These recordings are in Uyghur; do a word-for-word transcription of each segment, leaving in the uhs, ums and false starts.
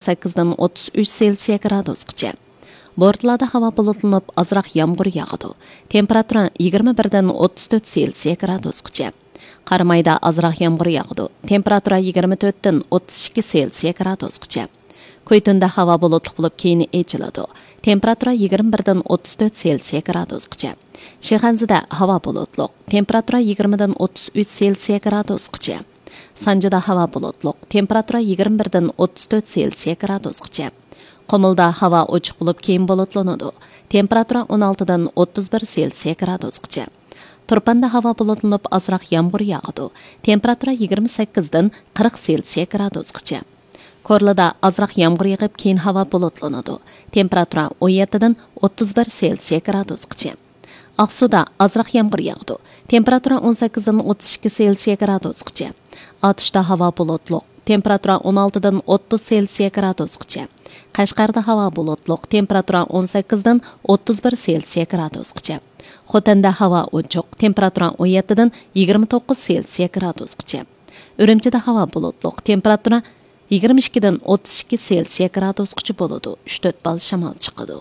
سەككىزدىن ئوتتۇز ئۈچ سېلسىيە گرادۇسقىچە. بورتالادا ھاۋا بۇلۇتلىنىپ، ئازراق يامغۇر ياغىدۇ. تېمپېراتۇرا يىگىرمە بىردىن ئوتتۇز تۆت سېلسىيە گرادۇسقىچە. قارامايدا ئازراق يامغۇر ياغىدۇ. تېمپېراتۇرا يىگىرمە تۆتتىن ئوتتۇز ئىككى سېلسىيە گرادۇسقىچە. كۇيتۇندا ھاۋا بۇلۇتلۇق بولۇپ، كېيىن ئېچىلىدۇ. تېمپېراتۇرا يىگىرمە بىردىن ئوتتۇز تۆت سېلسىيە گرادۇسقىچە. شىخەنزىدە ھاۋا بۇلۇتلۇق. تېمپېراتۇرا يىگىرمىدىن ئوتتۇز ئۈچ سېلسىيە گرادۇسقىچە. سانجىدا ھاۋا بۇلۇتلۇق. تېمپېراتۇرا يىگىرمە بىردىن ئوتتۇز تۆت سېلسىيە گرادۇسقىچە. قۇمۇلدا ھاۋا ئوچۇق بولۇپ، كېيىن بۇلۇتلىنىدۇ. تېمپېراتۇرا ئون ئالتىدىن ئوتتۇز بىر سېلسىيە گرادۇسقىچە. تۇرپاندا ھاۋا بۇلۇتلىنىپ، ئازراق يامغۇر ياغىدۇ. تېمپېراتۇرا يىگىرمە سەككىزدىن قىرىق سېلسىيە گرادۇسقىچە. كورلىدا ئازراق يامغۇر يېغىپ، كېيىن ھاۋا بۇلۇتلىنىدۇ. تېمپېراتۇرا ئون يەتتىدىن ئوتتۇز بىر سېلسىيە گرادۇسقىچە. ئاقسۇدا ئازراق يامغۇر ياغىدۇ. تېمپېراتۇرا ئون سەككىزدىن ئوتتۇز ئىككى سېلسىيە گرادۇسقىچە. ئاتۇشتا ھاۋا بۇلۇتلۇق. تېمپېراتۇرا ئون ئالتىدىن ئوتتۇز سېلسىيە گرادۇسقىچە. قەشقەردە ھاۋا بۇلۇتلۇق. تېمپېراتۇرا ئون سەككىزدىن ئوتتۇز بىر سېلسىيە گرادۇسقىچە. خوتەندە ھاۋا ئوچۇق. تېمپېراتۇرا ئون يەتتىدىن يىگىرمە توققۇز سېلسىيە گرادۇسقىچە. ئۈرۈمچىدە ھاۋا بۇلۇتلۇق. تېمپېراتۇرا يىگىرمە ئىككىدىن ئوتتۇز ئىككى سېلسىيە گرادۇسقىچە بولىدۇ. ئۈچ تۆت بال شامال چىقىدۇ.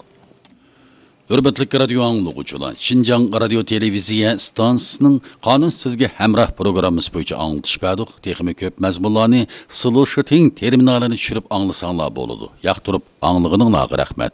ھۆرمەتلىك رادىيو ئاڭلىغۇچىلار، شىنجاڭ رادىيو تېلېۋىزىيە ئىستانسىسىنىڭ قانۇن سىزگە ھەمراھ پروگراممىسى بويىچە ئاڭلىتىش بەردۇق. تېخىمۇ كۆپ مەزمۇنلارنى سلوشىتىڭ تېرمىنالىنى چۈشۈرۈپ ئاڭلىساڭلار بولىدۇ. ياقتۇرۇپ ئاڭلىغىنىڭلارغا رەھمەت.